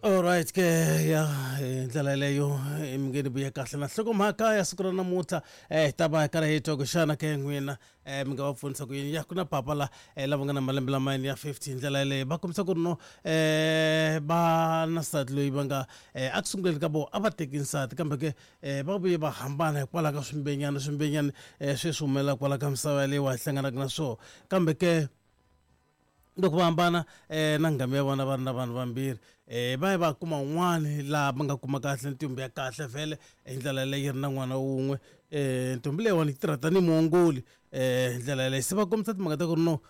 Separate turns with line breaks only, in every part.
Alright ke ya hi ndlela yeleyo mi nge ni vuye kahle na nhlokomhaka ya siku ra namuntlha hi ta va hi karhi hi twa ku xana ke n'wina mi nga va pfunisa ku yini ya ku na papa la lava nga na malembe lamayani ya 50 hi ndlela yeleyo va kombisa ku ri no va na nsati loyi va nga a ku sunguleni ka vona a va teki nsati kambe ke va vuye va hambana hikwalaho ka swimbenyana swimbenyana sweswi humelela kwala ka misava yaleyo wa hi hlanganaka na swona kambe ke loko va hambana na nghamu ya vona va ri na vanhu vambirhi va ya va kuma un'wani laha va nga kuma kahle ntombi ya kahle vhele hi ndlela yaleyo yi ri na n'wana wun'we ntombi leyiwani yi tirha tanihi muongoli hi ndlela yaleyo se va kombisa timhaka ta ku ri no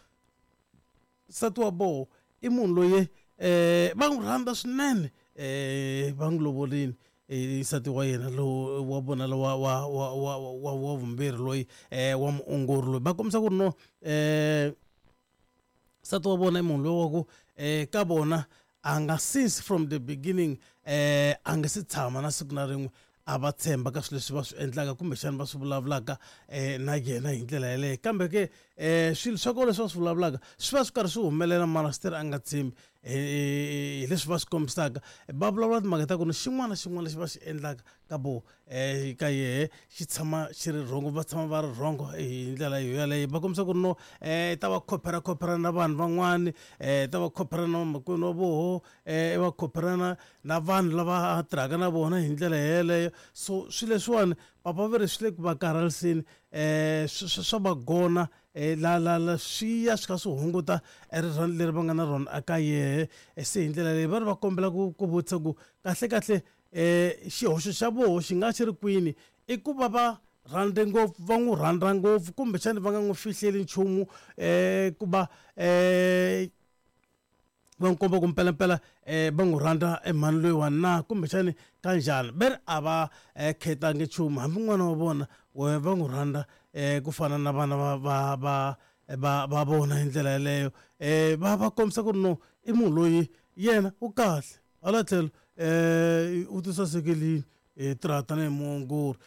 nsati wa voho i munhu loyi va n'wi rhandza swinene va n'wi lovorile nsati wa yena lowu wa vona lowa wa wa wa wa wa vumbirhi loyi wa muongori loyi va kombisa ku ri no nsati wa vona i munhu loyi wa ku ka vona a nga since from the beginning a nga se tshama na siku na rin'we a va tshemba ka swilo leswi va swi endlaka kumbexana va swi vulavulaka na yena hi ndlela yeleyo kambe ke swilo swa kona leswi va swi vulavulaka swi va swi karhi swi humelela mara still a nga tshembi hi leswi va swi kombisaka va vulavula timhaka ta ku ni xin'wana na xin'wana lexi va xi endlaka ka vo ka yehe xi tshama xi ri rhongo va tshama va ri rhongo hi ndlela yo yaleyo va kombisa ku ri no ta va khophera khophera na vanhu van'wani ta va khophera na vamakwenu wa voho va khopherana na vanhu lava a tirhaka na vona hi ndlela yeleyo so swilo leswiwani papa va ri swi le ku va karhaliseni swa va gona la la la swi ya swi kha swi hunguta rirhandzu leri va nga na rona eka yehe se hi ndlela leyi va ri va kombela ku vutisa ku kahle kahle xihoxo xa voho xi nga xi ri kwini i ku va va rhandze ngopfu va n'wi rhandza ngopfu kumbexana va nga n'wi fihleli nchumu ku va va n'wi komba ku mpelampela va n'wi rhandza mhani loyiwani na kumbexani ka njhani ve ri a va khetangi nchumu hambi n'wana wa vona wehe va n'wi rhandza ku fana na vana va va va va va vona hi ndlela yeleyo va va kombisa ku ri no i munhu loyi yena u kahle hala tlhelo u ti sasekile hi tirha tanihi muongori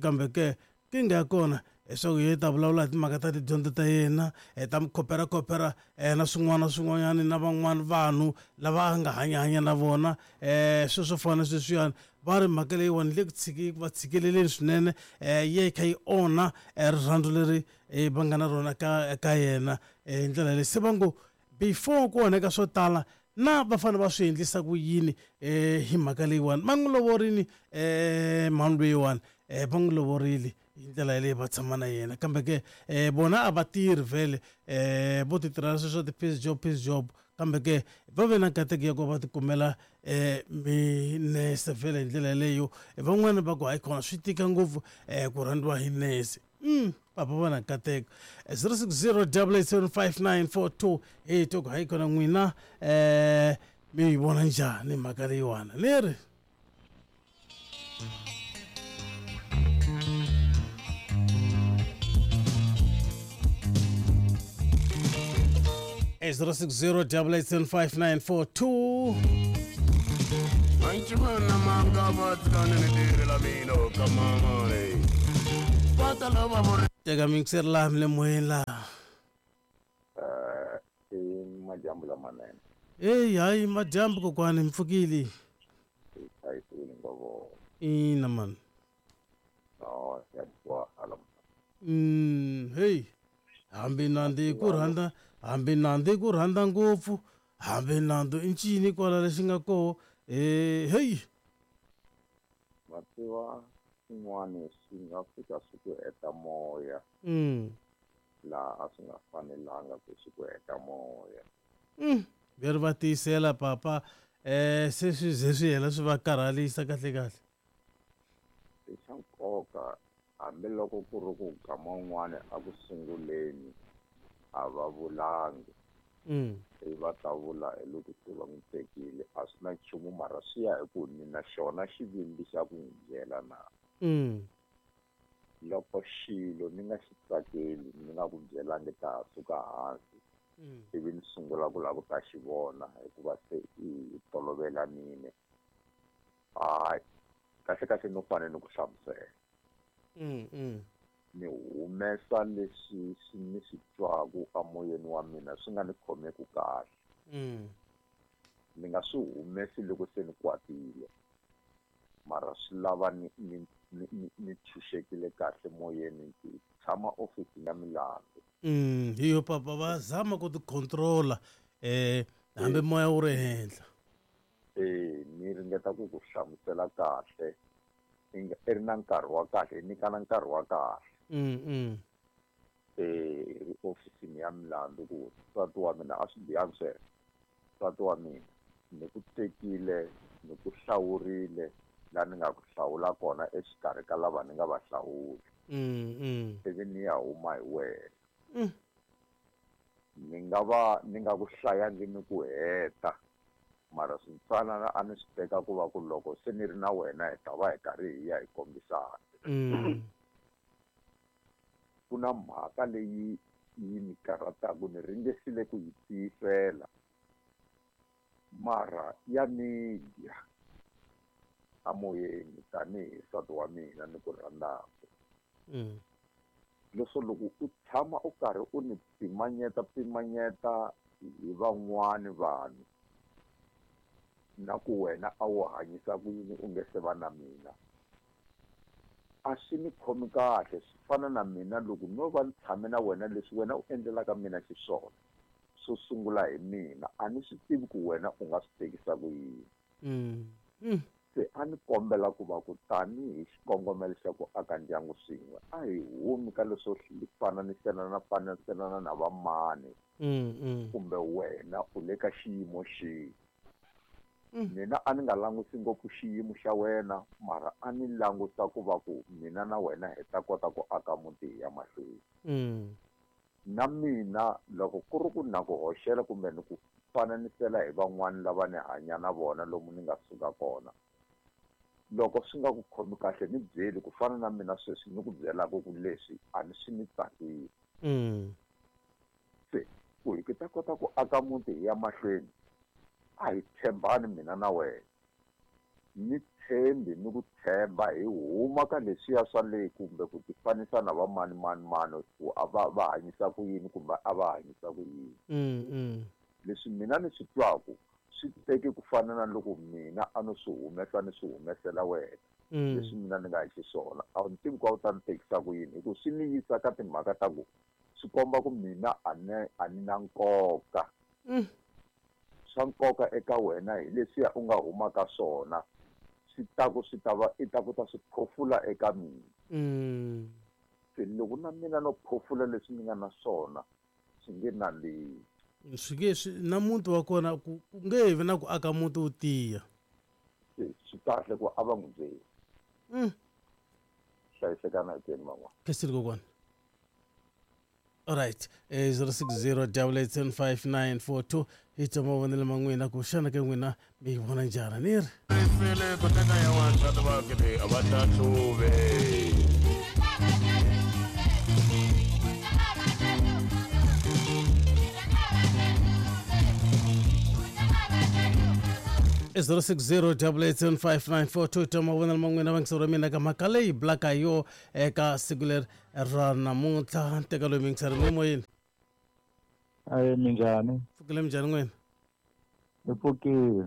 kambe ke nkingha ya kona leswaku hi ta vulavula hi timhaka ta tidyondzo ta yena hi ta mi khopera-khopera na swin'wana na swin'wanyana na van'wana vanhu lava a nga hanyahanya na vona swilo swo fana na sweswiyani va ri mhaka leyiwani le ku tshiki va tshikeleleni swinene yi ya yi kha yi onha rirhandzu leri va nga na rona ka ka yena hi ndlela leyi se va ngo before ku onheka swo tala na va fanele va swi endlisa ku yini hi mhaka leyiwani va n'wi lovorini mhani loyiwani va n'wi lovorile hi ndlela yaleyo va tshama na yena kambe ke vona a va tirhi vhele vo ti tirhela sweswo ti-piece job piece job kambe ke va ve na nkateko ya ku va tikumela minese vhele hi ndlela yaleyo van'wani va ku hayi khona swi tika ngopfu ku rhandziwa hi nese papa va na nkateko 060 875 hi twa ku hayi kona n'wina mi yi vona njhani mhaka leyiwani ni ri E 060 875 Teka mixer laha mi le moyeni laha.
I madyambu lamanene.
Heyi hayi madyambu kokwani mi pfukile.
Hi hlayisile ngopfu.
Ina mani.
No, ya twala.
Heyi hambi nandzu ku rhandza hambi nandzu ku rhandza ngopfu hambi nandzu i ncini kwala lexi nga koho heyi.
Ma tiva swin'wana swi nga fika swi ku heta moya. Laha a swi nga fanelanga ku swi ku heta moya.
Ve ri va tiyisela papa se swi ze swi hela swi va karhalisa kahle kahle.
I swa nkoka hambiloko ku ri ku nkama wun'wani a ku sunguleni a va vulangi. Ivi va ta vula hi loko se va n'wi tekile a swi na nchumu mara swi ya hi ku ni na xona xivindzi xa ku n'wi byela na. Loko xilo ni nga xi tsakeli ni nga ku byelangi ta ha suka hansi ivi ni sungula ku lava ku ta xi vona hikuva se i tolovelanile hayi kahle kahle no fanele ni ku hlamusela. Ni humesa leswi swi ni swi twaku amoyeni wa mina swi nga ni khomeku kahle. Ni nga swi humesi loko se ni kwatile, mara swi lava ni tshunxekile kahle moyeni, ndzi tshama ofisini ya milandzu.
Hi yo papa va zama ku ti controla hambi moya wu ri henhla.
Ni ringeta ku ku hlamusela kahle, i ri na nkarhi wa kahle, hi nyikana nkarhi wa kahle. Ri ofisini ya milandzu ku nsati wa mina a swi bihangi sweswo. Nsati wa mina ni ku tekile, ni ku hlawurile laha ni nga ku hlawula kona exikarhi ka lava ni nga va hlawula. Ivi ni ya huma hi wena. Ni nga va ni nga ku hlayangi ni ku heta, mara swintsanana a ni swi teka ku va ku loko se ni ri na wena hi ta va hi karhi hi ya hi kombisana. Ku na mhaka leyi yi ni karhataka, ni ringesile ku yi tiyisela, mara ya ni dya amoyeni tanihi nsati wa mina ni ku rhandzaka. Leswo loko u tshama u karhi u ni pimanyeta hi van'wani vanhu, na ku wena a wu hanyisa ku yini u nge se va na mina, a swi ni khomi kahle. Swi fana na mina loko no va ni tshame na wena leswi wena u endlelaka mina xiswona, swo sungula hi mina a ni swi tivi ku wena u nga swi tekisa ku yini. Se a ni kombela ku va ku tanihi xikongomelo xa ku aka ndyangu swin'we, a hi humi ka leswo fananiselana na vamani kumbe wena u le ka xiyimo xihi. Mina a ni nga langusi ngopfu xiyimo xa wena, mara a ni languta ku va ku mina na wena hi ta kota ku aka muti hi ya mahlweni. Na mina loko ku ri ku na ku hoxela kumbe ni ku fananisela hi van'wani lava ni hanya na vona lomu ni nga suka kona, loko swi nga ku khomi kahle ni byeli, ku fana na mina sweswi ni ku byelaka ku leswi a ni swi ni tsakisi. Se ku hi ta kota ku aka muti hi ya mahlweni, a hi tshembani mina na wena. Ni tshembi ni ku tshemba hi huma ka leswiya swa le kumbe ku tifanisa na va mani mani mani ku a va hanyisa ku yini kumbe a va hanyisa ku yini. Leswi mina ni swi twaku swi teke ku fana na loko mina a no swi humesa ni swi humesela wena. Leswi mina ni nga hi xiswona a wu ni tivi ku a wu ta ni tekisa ku yini, hi ku swi ni yisa ka timhaka ta ku swi komba ku mina a ni na nkoka. Swa nkoka eka wena hi leswiya u nga huma ka swona, swi ta ku swi ta va i ta ku ta swi phofula eka mina. Se loko na mina no phofula leswi ni nga na swona swi nge nandzihi.
Swi nge swi na muti wa kona ku nge vi na ku aka muti wu tiya.
Swi kahle ku a va n'wi byeli. Hlayisekana hi teni van'wana.
Khensile kokwana. All right, 060 8875942 hi twa mavonelo ma n'wina ku xana ke n'wina mi yi vona njhani ni ri.
Ku teka ya wansati va kele a va hlahluve.
I 060 8875942 twa mavonelo ma n'wina vangiseri wa mina ka mhaka leyi bulaka hi yo eka siku leri ra namuntlha. Nteka loyi mingiseri mi moyeni.
Aye, minjhani?
Pfukile minjhani n'wina?
Ni pfukile.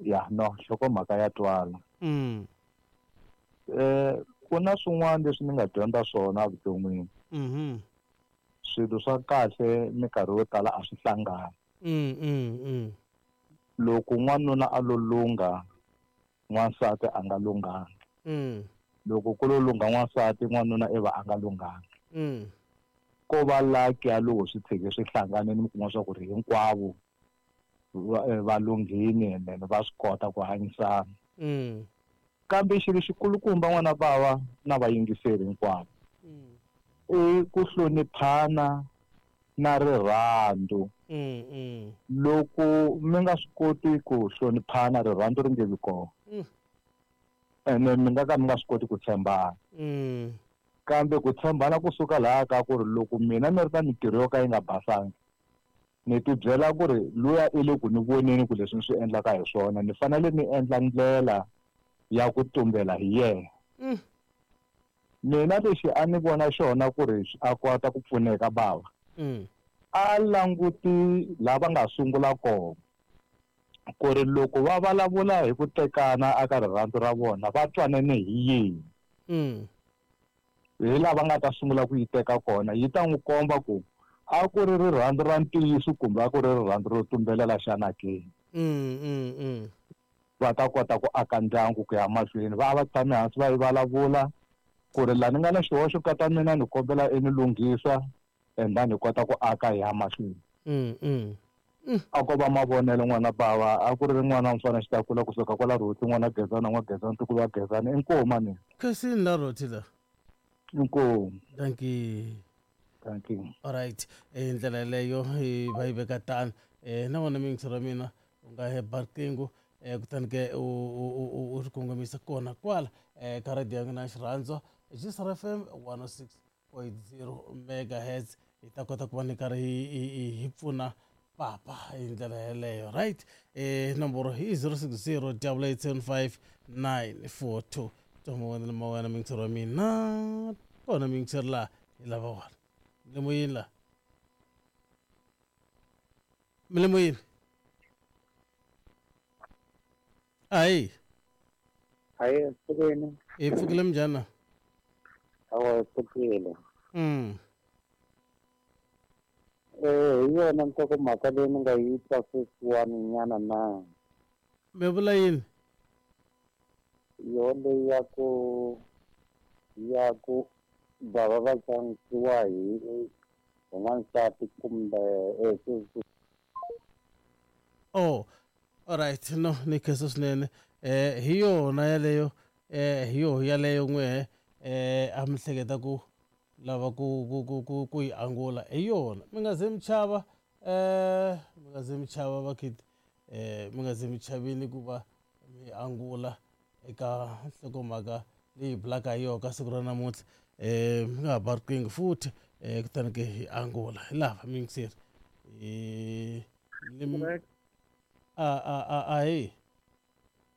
Ya no, nhlokomhaka ya twala. Ku na swin'wana leswi ni nga dyondza swona evuton'wini. Swilo swa kahle minkarhi yo tala a swi hlangani. Loko n'wanuna a lo lungha, n'wansati a nga lunghangi. Loko ku lo lungha n'wansati, n'wanuna i va a nga lunghangi. Ko va lucky ya loko swi tshike swi hlanganile mi kuma swa ku ri hinkwavo va lunghini and then va swi kota ku hanyisana. Kambe xilo xikulukumba n'wana bava na vayingiseri hinkwavo i ku hloniphana na rirhandzu. Loko mi nga swi koti ku hloniphana, rirhandzu ri nge vi kona. Ene mi nga ka mi nga swi koti ku tshembana. Kambe ku tshembana kusuka laha ka ku ri loko mina ni ri na mintirho yo ka yi nga basangi, ni ti byela ku ri luya i le ku ni voneni ku leswi ni swi endlaka hi swona, ni fanele ni endla ndlela ya ku tumbela hi yena. Mina lexi a ni vona xona ku ri a kota ku pfuneka bava. A languti lava nga sungula kona. Ku ri loko va vulavula hi ku tekana aka rirhandzu ra vona va twanene hi yini. Hi lava nga ta sungula ku yi teka kona yi ta n'wi komba ku a ku ri rirhandzu ra ntiyiso kumbe a ku ri rirhandzu ro tumbelela xana ke. Va ta kota ku aka ndyangu ku ya mahlweni va va tshame hansi va yi vulavula ku ri la ni nga na xihoxo ka ta mina ni kombela i ni lunghisa and then hi kota ku aka hi ya mahlweni. A ko va mavonelo n'wana bava a ku ri n'wana mfana xitakula kusuka kwala Rhoti n'wana Gezana n'wa Gezana ntukulu wa Gezana inkomu mani.
Khensini la Rhoti la.
Inkomu.
Thank you.
Thank you.
All right. Ndlela yeleyo va yi veka tano. Na wona miyingiso ra mina u nga heba riqingho kutani ke u ri kongomisa kona kwala ka radio ya n'wina xirhandzwa Gisar FM 106.0 megahertz hi ta kota ku va ni karhi hi pfuna papa hi ndlela yeleyo. Right. Nomboro hi 060 875 942. Twa mawena miyingisero wa mina kona miyingisero laha hi lava wona. Mile la. Mile moyeni. Ayi.
Ayi, pfukile.
Hi pfukile minjhani?
Awa, pfukile. Hi yona nhlokomhaka leyi ni nga yi twa sweswiwani nyana na.
Mi vula yini?
Yo leyi ya ku bava va xanisiwa hi n'wansati kumbe
Oh, all right. No, ni khensa swinene. Hi yona yaleyo, hi yo yaleyo n'we a mi hleketa ku lava ku yi angula hi yona. Mi nga ze mi chava, mi nga ze mi chava vakhiti, mi nga ze mi chavini ku va mi angula eka nhlokomhaka leyi bulaka hi yona ka siku ra namuntlha. Mi nga ha ba riqingho futhi kutani ke hi angula hi lava miyingiseri. Ahi.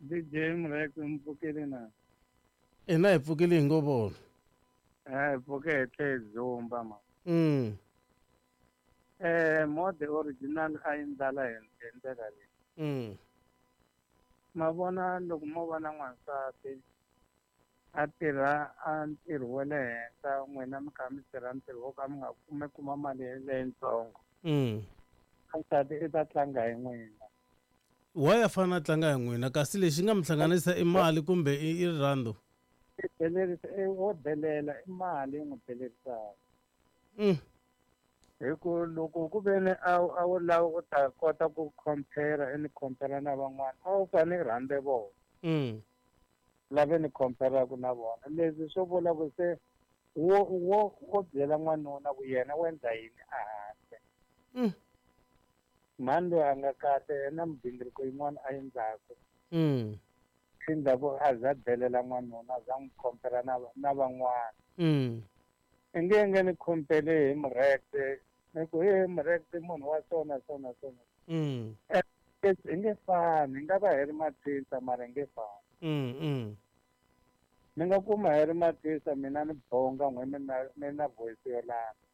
DJ Mrek mpfukile na.
Ina hi pfukile hi ngo vona.
Hi pfuke hi tlhe zumba ma. Mode original a yi ndlala hi ndlela leyi. Ma vona loko mo vona n'wansati a tirha a ntirho wa le henhla n'wina mi kha mi tirha ntirho wo ka mi nga kume kuma mali leyitsongo. N'wansati i ta tlanga hi n'wina.
Why a fanele a tlanga hi n'wina kasi lexi nga mi hlanganisa i mali kumbe i rirhandzu?
Wo delela i mali yi n'wi delerisaka. Hi ku loko ku ve ni a wu lava ku ta kota ku compare i ni compare na van'wana a wu fanele i rhandze vona. Lave ni compare-ku na vona. Leswi swo vula ku se wo byela n'wanuna ku yena u endla yini a handle. Mhani loyi a nga kahle yena migingiriko yin'wana a endlaku. Endzhaku a za delela n'wanuna a za n'wi compare na van'wana. I nge ni compare hi Mureke ni ku he Mureke munhu wa sona sona sona. I nge fani, hi nga va hi ri mathisa mara hi nge fani. Ni nga kuma hi ri mathisa mina ni bonga n'we mina voice yo lala.